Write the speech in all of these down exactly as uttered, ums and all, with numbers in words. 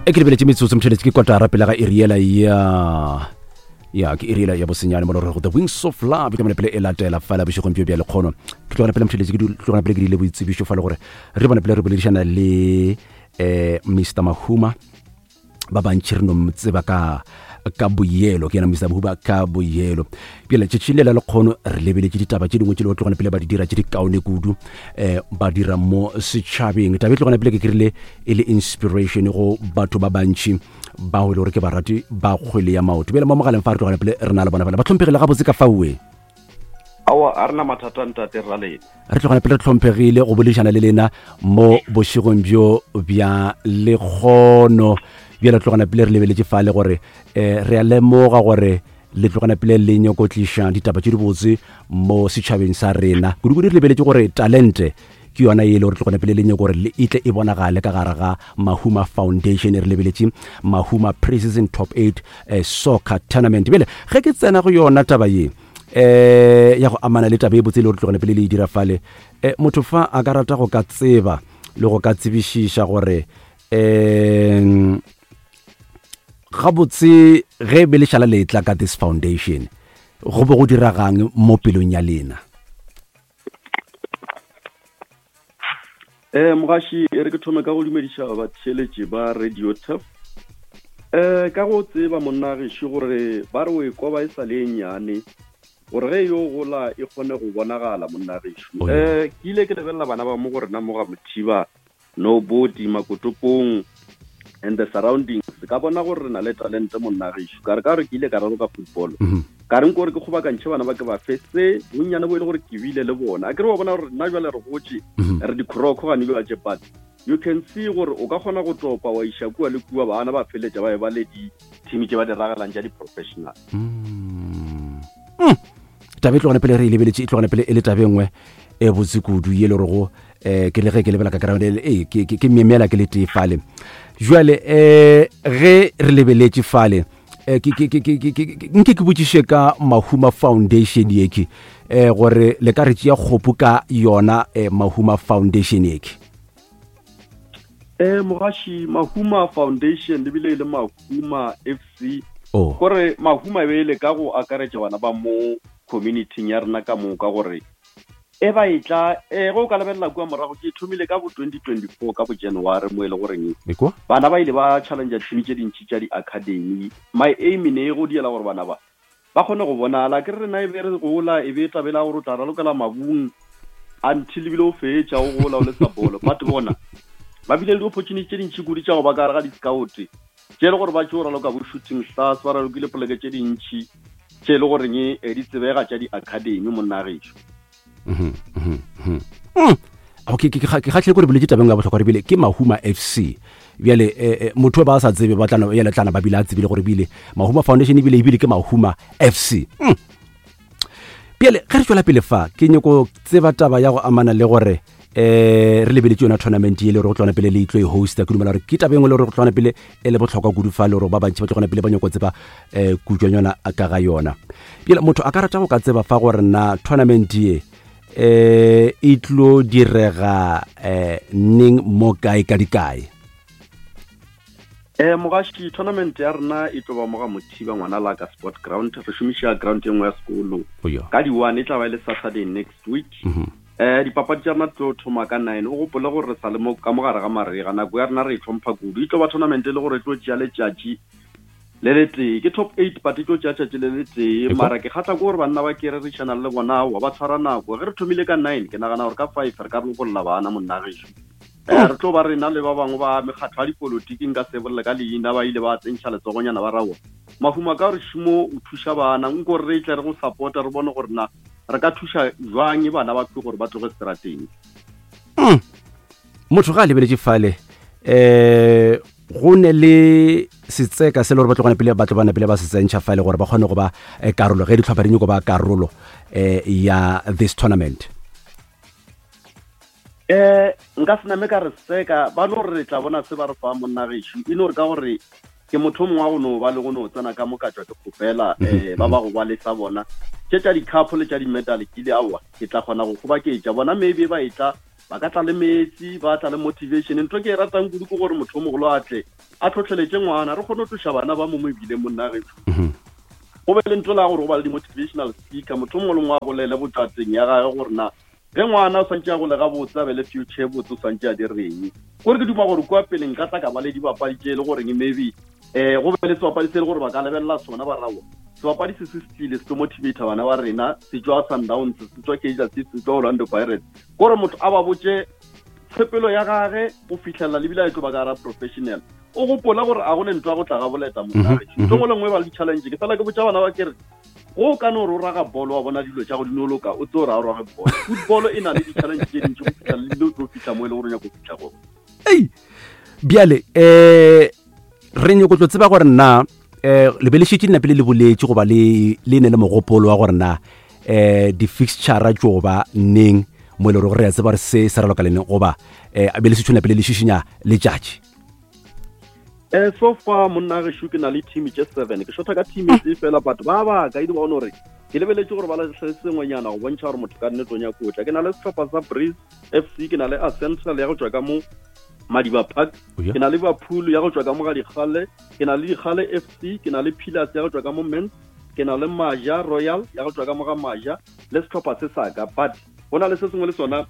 E ke lebeletše metsotso motšheletše ke kotara pele ga iriela ya ya ke iriela ya bosenyane mo go The Wings of Love ke mone pele e latela fela bošegong bjo bja lekgono. Ke tlogana pele motšheletše ke tlogana pele ke diile boitsebišo fa le gore re bone pele re boledišana le eh Mister Mahuma. Ba bantši re no mo tseba ka ka boyelo, ke yena Mister Mahuma ka boyelo. Bjale tšatši le la lekgono re lebeletše ditaba tše dingwe tše le tlogana pele ba di dira tše di kaone kudu, eh ba dira mo setšhabeng. Taba e tlogana pele ke krile e le inspiration go batho ba bantši bao e le gore ke barati ba kgwele ya maoto. Bjale mo mogaleng fa re tlogana pele re na le bona bana ba hlomphegile gabotse ka faue. Aowa, a rena mathata ntate ra lena. Re tlogana pele re hlomphegile go boledišana le lena mo bošegong bjo bja lekgono. Bjale tlogana pele re lebeletše fale gore eh re a lemoga gore le tlogana pele le nyako tliša ditaba tše dibotse mo setšhabeng sa rena. Kudu-kudu re lebeletše gore talente ke yona e le gore tlogana pele le nyako gore le itle e bonagale ka gare ga Mahuma Foundation. Re lebeletše Mahuma Pre-season Top eight eh, Soccer Tournament. Bjale ge ke tsena go yona taba ye eh ya go amana le taba e botse le gore tlogana pele le e dira fale, eh motho fa a ka rata go ka tseba le go ka tsebišiša gore eh gabotse ge be le šala le tla ka this foundation go be go diragang mo pelong ya lena? Eh mogaši, e re ke thome ka go dumediša batheeletši ba Radio Turf. Eh ka go tseba monna gešo gore ba re o e koba e sa le e nnyane gore ge yo gola e kgone go bonagala monna gešo. Oh, yeah. Eh ke ile ke lebelela bana ba mo go rena mo ga Mothiba, Nobody, Makotopong and the surroundings. Ka bona gore re na le talente monna gešo. Ka re ka re ke ile ka raloka football. Mm-hmm. Ka re nko gore ke kgobakantšhe bana ba ke ba fe se bonnyane bo e le gore ke bile le bona. A ke re wa bona gore nna jwale re gotše, Mm-hmm. re dikroko gane jwale tše, but you can see gore o ka kgona go topa wa iša kua le kua, bana ba feletša ba e ba le di-team tše ba di ragalang tša di-professional. Mm. Mm. Taba e tlogane pele re e lebeletše, e tlogane pele e le taba e nngwe e botse kudu ye le gore go eh ke le ge ke lebela ka ground e ke ke memela ke le tee fale. Jwale eh ge re lebeletše fale eh ke ke ke ke ke nke ke botšiše ka Mahuma Foundation yeke eh gore le ka re tšea kgopo ka yona eh Mahuma Foundation yeke. Eh mogaši, Mahuma Foundation le bile le Mahuma F C. Oh. Gore Mahuma e be le ka go akaretša bana ba mo community ya rena ka moka gore e ba e tla e go ka lebelela kua morago ke thomile ka bo twenty twenty-four ka bo January mo e le goreng Ekwa? bana ba ile ba challenge team tše dintši tša di-academy. My aim ne e go diela gore bana ba ba kgone go bonala. Ke re rena e be re gola e be tabela gore o tla ralokela mabung until ebile o fetša o gola o le sa bolo. But bona ba bile le di-opportunity tše dintši kudu tša go ba ka gare ga di-scout tše e le gore ba tšo raloka bo Shooting Stars, ba ralokile poleke tše dintši tše e le goreng e di tsebega tša di-academy monna gešo. Mm-hmm, mm-hmm, mm-hmm. Mm. Okay, ke ke kgahlile gore boletse tabeng ya bohlokwa re bile ke Mahuma F C. Bjale eh, motho ba sa tsebe ba tlana ya tlana ba bile a tsebile gore bile Mahuma Foundation ebile ebile ke Mahuma F C. Mm. Bjale ge re tšwela pele fa ke nyako tseba taba ya go amana le gore eh re lebeletše yona tournament ye le gore go tlwana pele le itlo e hosta. Ke dumela gore ke taba e nngwe le gore go tlwana pele e le bohlokwa kudu fa le gore ba bantši ba tlogana pele ba nyako tseba eh kutšwanyana ka ga yona. Bjale motho a ka rata go ka tseba fa gore na tournament ye eh e tlo direga eh neng mo kae ka dikae? Eh mogaši, tournament ya rena e tlo ba mo ga Mothiba ngwana la ka sport ground. Re šomiša ground e nngwe ya sekolo. Oh, ka di one e tla ba e le Saturday next week. Mm-hmm. Eh dipapadi tša rena di tlo thoma ka nine. O gopole gore re sa le mo ka mogare ga marega, nako ya rena re e tlhompha kudu. E tlo ba tournament e le gore e tlo tšea letšatši le le tee, ke top eight but e tlo tšea tšatši le le tee. Mara ke kgatla ke gore banna ba ke rerišana le bona wa ba tshwara nako. Ge re thomile ka nine, ke nagana gore ka five re ka lokolla bana monna gešo. Eh re tlo ba rena le ba bangwe ba mekgatlo ya dipolotiki nka se bolele ka leina, ba ile ba tsentšha letsogonyana ba rawa Mahuma ka gore šomo o thuša bana, nko re tle re go support-a re bone gore na re ka thuša jwang bana ba tlo gore ba tloge strateng. Mm. Motho ga a lebeletše fale eh go ne le setseka se le gore ba tlogana pele ba tlo bana pele ba se tsentšha fale gore ba kgone go ba karolo ge ditlhopha di nyako ba karolo eh ya this tournament. Eh nka se name ka re seka ba no re tla bona se ba re fa monna gešo e no re ka gore ke motho mongwe wa go no ba le go no tsena ka mo ka tšwa ke kgopela eh ba ba go ba le sa bona tše tša di-cup le tša di-medal ke ile aowa ke tla kgona go kgobaketša bona maybe ba e tla Ba ka tla le metsi, ba tla le motivation. Ntho ke e ratang kudu ke gore motho o mogolo a tle a tlhotlheletse ngwana, re kgone go tloša bana ba mo mebileng monna gešo. Go be le ntho la gore go ba le di-motivational speaker, motho o mongwe le mongwe a bolele botšateng ya gage gore na ge ngwana o swantše a gole gabotse, a be le future botse, o swantše a direng. Gore ke duma gore kua pele nka tla ka ba le dibapadi tše e le goreng maybe um go be le sebapadi se e le gore ba ka lebelela sona ba rawa. Sebapadi se se se tlile se tlo motivata bana ba rena, se tswa Sundowns, se tswa Kaizer Chiefs, se tswa Orlando Pirates. Gore motho a ba botse tshepelo ya gage go fihlelela lebile a e tlo ba ka gara professional. O gopola gore a go ne ntho ya go tla ga boleta monna gešo. Ntho nngwe le nngwe e ba le di-challenge. Ke fela ke botša bana ba ke re go ka no re o raga bolo wa bona dilo tša go di no loka, o tse o ra o rage bolo. Football e na le di-challenge tše dintši go fihla le o tlo fihla mo e le gore o nyaka go fihla gona. Ei, bjale eh re nyako tlo tseba gore nna eh le be le šetše napele le boletše goba le le ne le mogopolo wa gore na eh di-fixture tšo ba neng mo e le gore re a tseba gore se se raloka le neng, goba eh be le šetše napele le šišinya letšatši. Eh so far monna gešo ke na le team tše seven, ke shota ka team e tee fela, but ba ba ka idi bona gore ke lebeletse gore ba latlhe sengwenyana go bontšha gore motho ka nnete o nyako o tla. Ke na le sehlopha sa Breeze F C, ke na le Essential ya go tšwa ka mo Madiba Park, ke na le Liverpool ya go tšwa ka mo ga Dikgale, ke na le Dikgale F C, ke na le Pillars ya go tšwa ka mo Mens, ke na le Maja Royal ya go tšwa ka mo ga Maja, le sehlopha se sa ka. But go na le se sengwe le sona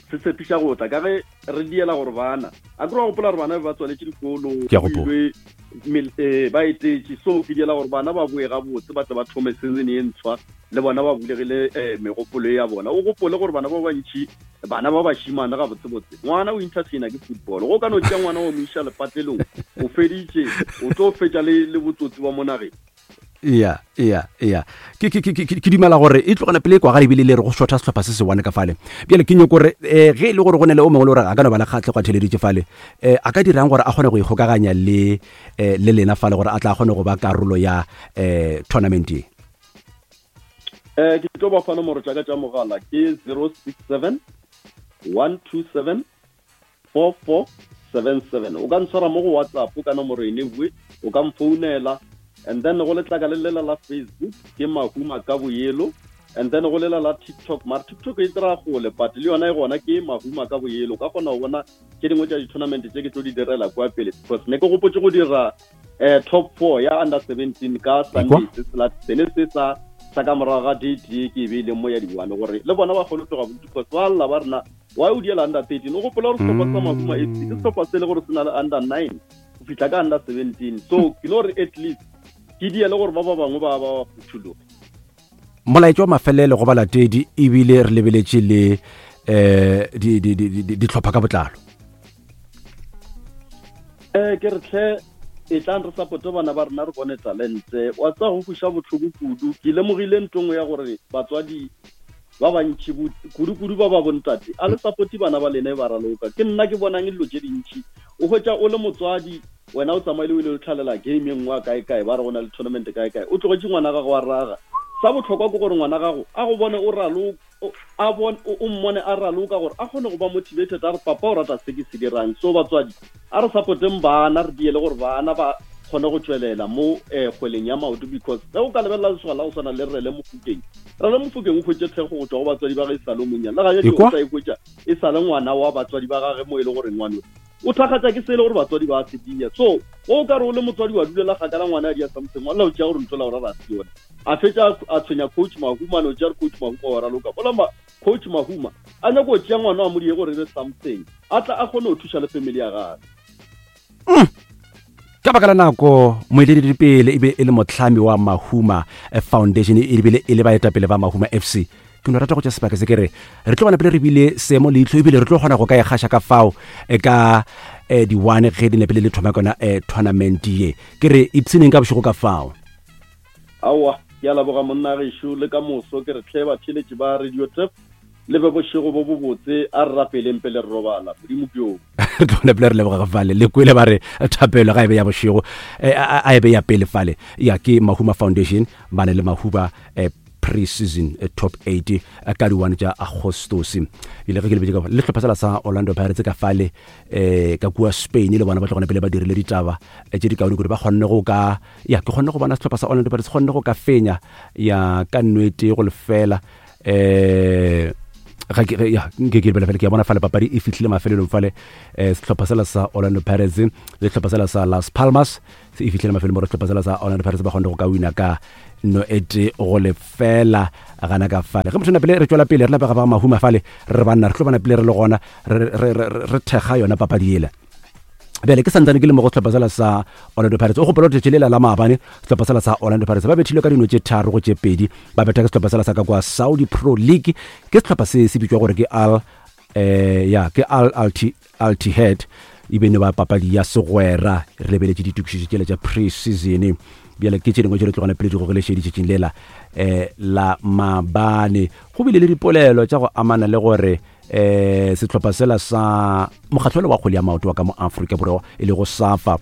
se tshepiša go tla ka ge re diela gore bana a ke re wa gopola gore bana ba tswaletše dikolo, ba etetše, so ke diela gore bana ba boe gabotse, ba tle ba thome season e ntshwa le bona ba bulegile megopolo ya bona. O gopole gore bana ba bantši, bana ba bashimane gabotsebotse, ngwana o entertainer ke football. Go ka no tšea ngwana wa mo iša lepatlelong, o feditše, o tlo fetša le le botsotsi ba mo nageng. Ya, ya, ya. Ke ke ke ke dumela gore e tlogana pele kwa ga ebile le re go shotha sehlopha se se one ka fale. Bjale ke nyoko gore eh ge e le gore go ne le o mongwe le gore a ka no ba le kgatlhego a theleditše fale, eh a ka dirang gore a kgone go ikgokaganya le eh le lena fale gore a tla kgone go ba karolo ya eh tournament ye. Eh ke tlo ba fa nomoro tša ka tša mogala ke zero six seven one two seven four four seven seven. O ka ntshwara mo go WhatsApp ka nomoro ene bue, o ka mfounela. And then go letlaka le lela la Facebook ke Mahuma ka boyelo, and then go lela la TikTok, mara TikTok e tsira gole but le yona e gona ke Mahuma ka boyelo. Ka kgona go bona tše dingwe tša di-tournament tše ke tlo di direla kwa pele, because ne ke gopotse go dira eh top four ya under seventeen ka Sunday se se se sa sa ka morago ga date ye ke e beileng mo ya di-one, gore le bona ba kgone go tloga bodutu, because ba lla ba rena why o diela under thirteen. O gopola gore sehlopha sa Mahuma F C ke sehlopha se le gore se na le under nine go fihla ka under seventeen, so ke no re at least ke diele gore ba ba bangwe ba ba phuthuloge. Molaetša wa mafelelo go balatedi ebile re lebeletše le eh di di di dihlopha ka botlalo. Eh ke re tle e tlang re supporte bana ba rena, re bone talente. Wa tsa go fuša botlhoko kudu. Ke lemogile ntho nngwe ya gore batswadi ba bantši kudu-kudu ba ba bontate a le supporte bana ba lena e ba raloka. Ke nna ke bonang dilo tše dintši. O hwetša o le motswadi, wena o tsamaile o ile o tlhalela game e nngwe kae kae, ba re go na le tournament kae kae, o tlogetše ngwana gago wa raga. Sa bohlokwa ke gore ngwana gago a go bone o raloka, a bone o mmone a raloka gore a kgone go ba motivated, a re papa o rata se ke se dirang. So batswadi a re supporteng bana, re diele gore bana ba kgone go tšwelela mo eh kgweleng ya maoto, because ge o ka lebelela lesogana la go swana le Rele Mofokeng, Rele Mofokeng o hwetše thekgo go tšwa go batswadi ba ge e sa le monnyane, le ga o sa e hwetša e sa le ngwana wa batswadi ba gage mo e le gore ngwana o thakgatša ke se e le gore batswadi ba se dia. So o ka re o le motswadi wa dulela kgakala ngwana a dia something, wa o tšea gore ntho la o rara se yone, a fetša a tshwenya coach Mahuma, no tšea coach Mahuma wa raloka bola coach Mahuma a nyako go tšea ngwana wa modie gore re something, a tla a kgone go thuša le family ya gagwe. Ka baka la nako moeteledipele e be e le motlhami wa Mahuma Foundation, ebile e le baetapele ba Mahuma F C. Ke no rata go tša sebaka se ke re re tlo bona pele re bile seemo leihlo, ebile re tlo kgona go ka e gaša ka fao ka di-one ge di nepele le thoma kona tournament ye. Ke re ipshineng ka bošego ka fao. Aowa, ke a leboga monna gešo, le ka moso ke re tle batheeletši ba Radio Tap le be bošego bo bobotse, a re rapeleng pele re robala. Modimo ke yo. Re tlo bona pele re leboga fale. Le kwele ba re thapelo ga e be ya bošego, a e be ya pele fale. Ya ke Mahuma Foundation ba ne le Mahuba pre-season top eight ka di-one tša Agostose. Ile ge ke lebetše ka le hlopha sela sa Orlando Pirates ka fale eh ka kua Spain, le bona ba tlogana pele ba dirile ditaba tše di kaone kudu, ba kgonne go ka ya ke kgonne go bona sehlopha sa Orlando Pirates kgonne go ka fenya ya ka nnete go lefela eh Ga ke ya nke ke lebele fela, ke a bona fale papadi e fihlile mafelelong fale. um sehlopha sela sa Orlando Pirates le sehlopha sela sa Las Palmas se e fihlile mafelelong, gore sehlopha sela sa Orlando Pirates ba kgone go ka wina ka no ete go lefela gana ka fale. Ge motho na pele re tšwela pele re lapega ba mahuma fale, re banna re tlo bana pele re le gona re thekga yona papadi ela. Bjale ke santsane ke le mo go sehlopha sela sa Orlando Pirates. O gopola gore lela la maabane sehlopha sela sa Orlando Pirates ba bethilwe ka dino tše tharo go tše pedi, ba betha ke sehlopha sela sa ka kwa Saudi Pro League. Ke sehlopha se se bitšwa gore ke Al eh ya ke Al Alti Altihad, e bene ba papadi ya segwera. Re lebeletše ditokišetšo tšela tša pre-season. Bjale ke tše dingwe tše re tlogana pele di gogelešeditšetšing lela um la maabane. Go bile le dipolelo tša go amana le gore eh sehlopha sela sa mokgatlho wa kgwele ya maoto wa ka mo Afrika Borwa e lego SAFA,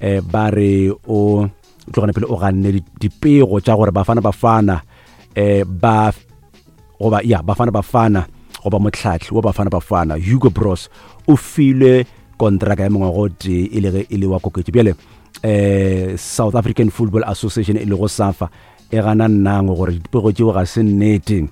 eh ba re o tlogana pele o ganne dipego tša gore Bafana Bafana eh ba goba ya Bafana Bafana goba motlhatli wa Bafana Bafana Hugo Broos o filwe kontraka ya mengwaga o tee e le ge e le wa koketšo. Bjale eh South African Football Association e lego SAFA e gana nnango gore dipego tšeo ga se nnete.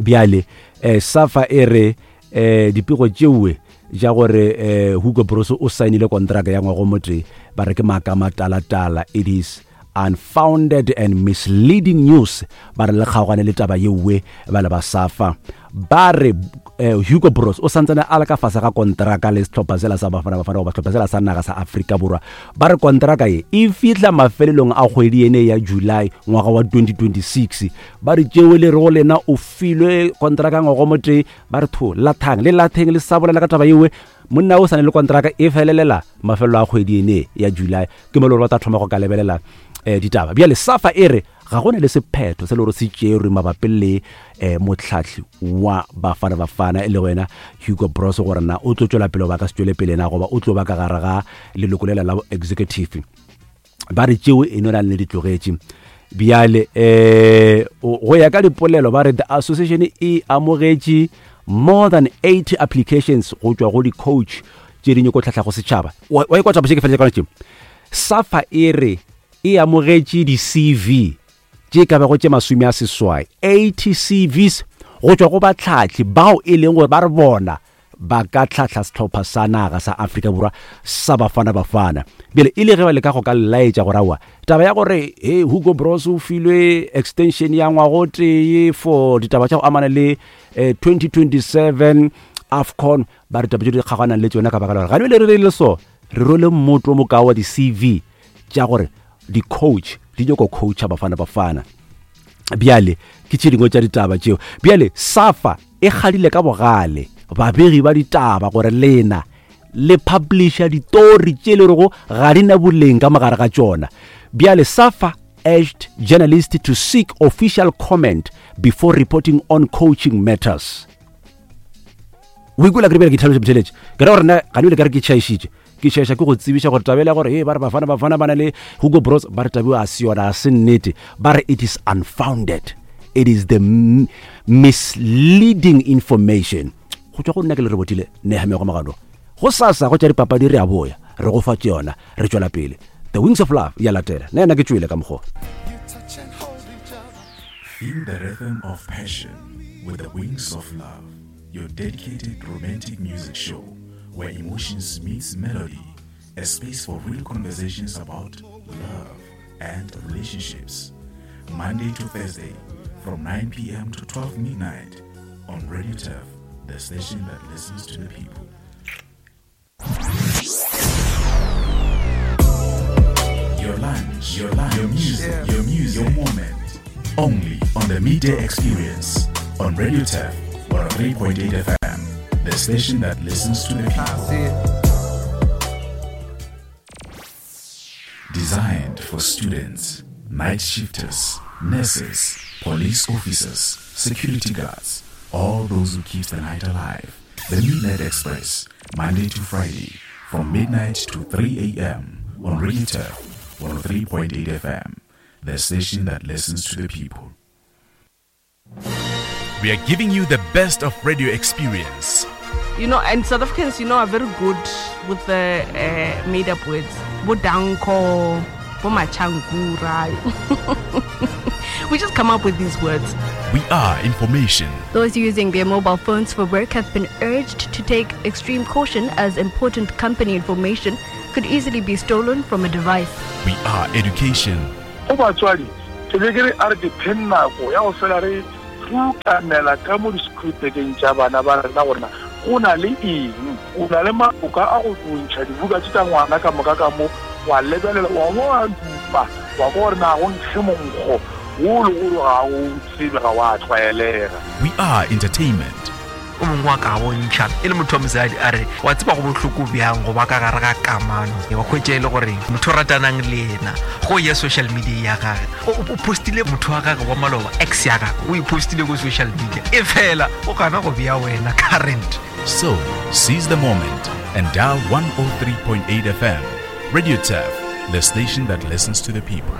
Bjale eh SAFA e re eh dipego tšewe ja gore eh Hugo Broos o saenile kontraka ya ngwaga o motee, ba re ke maaka matalatala, it is unfounded and misleading news. Ba re le kgaogane le taba yewe ba le ba SAFA. Ba re eh, Hugo Broos o santsane a le ka fase ga kontraka le sehlopha sela sa Bafana Bafana goba sehlopha sela sa naga sa Afrika Borwa. Ba re kontraka ye e fihla mafelelong a kgwedi ene ya July ngwaga wa twenty twenty-six. Ba re tšeo le re go lena o filwe kontraka ngwaga o motee, ba re tho lathang le latheng le sa bolela ka taba yewe. Monna o sane le kontraka e felelela mafelelo a kgwedi ene ya July, ke mo le gore ba tla thoma go ka lebelela eh ditaba. Bjale SAFA e re ga go na le sephetho se le gore se tšerwe mabapi le eh motlhatli wa Bafana Bafana e le wena Hugo Broos, gore na o tlo tšwela pele ba ka se tšwele pele na goba o tlo ba ka gare ga leloko lela la executive. Ba re tšeo e no na le ditlogetše. Bjale eh go ya ka dipolelo ba re the association e amogetše more than eighty applications go tšwa go di-coach tše di nyako tlhahla go setšhaba. Wa e kwa taba tše ke fetše ka tše. SAFA e re e amogetše di-C V tše ka bago tše masome a seswai, eighty C Vs go tšwa go batlhatli bao e leng gore ba re bona ba ka tlhahla sehlopha sa naga sa Afrika Borwa sa Bafana Bafana. Bjale e le ge ba leka go ka laetša gore aowa taba ya gore he Hugo Broos o filwe extension ya ngwaga o tee for ditaba tša go amana le eh, twenty twenty-seven AFCON, ba re taba tše di kgaganang le tšona ka baka la gore ga le re re le so re role mmoto mo ka wa di-C V tša gore di-coach di nyako coacha Bafana Bafana. Bjale ke tše dingwe tša ditaba tšeo. Bjale SAFA e kgadile ka bogale babegi ba ditaba gore lena le publisha ditori tše le rego ga di na boleng ka mogare ga tšona. Bjale SAFA urged journalists to seek official comment before reporting on coaching matters. O ikwela ke re bjale ke tlhaloša botheletše, ke ra gore nna ga le ka re ke tšhaišitše, ke tšhaiša ke go tsebiša gore tabela gore he ba re Bafana Bafana ba na le Hugo Broos, ba re tabiwa a se yona, a se nnete. Ba re it is unfounded, it is the misleading information. Go tšwa go nna ke le re botile Nehemia Magano. Go sasa go tša dipapadi re a boya, re go fa tšona, re tšwela pele. The Wings of Love ya latela. Nna yena ke tšwele ka mokgwa. Feel the rhythm of passion with the Wings of Love, your dedicated romantic music show where emotions meets melody, a space for real conversations about love and relationships. Monday to Thursday from nine p.m. to twelve midnight on Radio Turf, the station that listens to the people. Your lunch, your lunch, your music, yeah. your music, your moment. Only on the Midday Experience on Radio Turf one oh three point eight F M, the station that listens to the people. Designed for students, night shifters, nurses, police officers, security guards, all those who keep the night alive. The Midnight Express, Monday to Friday, from midnight to three a.m. on Radio Turf one oh three point eight F M, the station that listens to the people. We are giving you the best of radio experience. You know, and South Africans, you know, are very good with the uh, made-up words. Bo danko, bo machangura. We just come up with these words. We are information. Those using their mobile phones for work have been urged to take extreme caution as important company information could easily be stolen from a device. We are education. Go batswadi ke be ke re a re dipheng nako ya go fela re rukanela ka mo disekhuritekeng tša bana ba rena gorena go na le eng, o na le maoka a go ntšha dibuka tše tša ngwana ka moka ka mo, wa lebelela wa bo wa dupa wa kwa gore na go nkge monkgo wo le gore ga o tsebe ga wa tlwaelega. We are entertainment. O mongwe wa ka bontšha e le motho wa mosadi a re wa tseba go bohloko bjang go ba ka gare ga kamano, wa hwetša e le gore motho o ratanang le yena go ya social media ya gage o postile motho wa gage wa maloba ex ya gage o e postile ko social media e fela o gana go bea wena current. So seize the moment and dial one oh three point eight F M. Radio Turf, the station that listens to the people.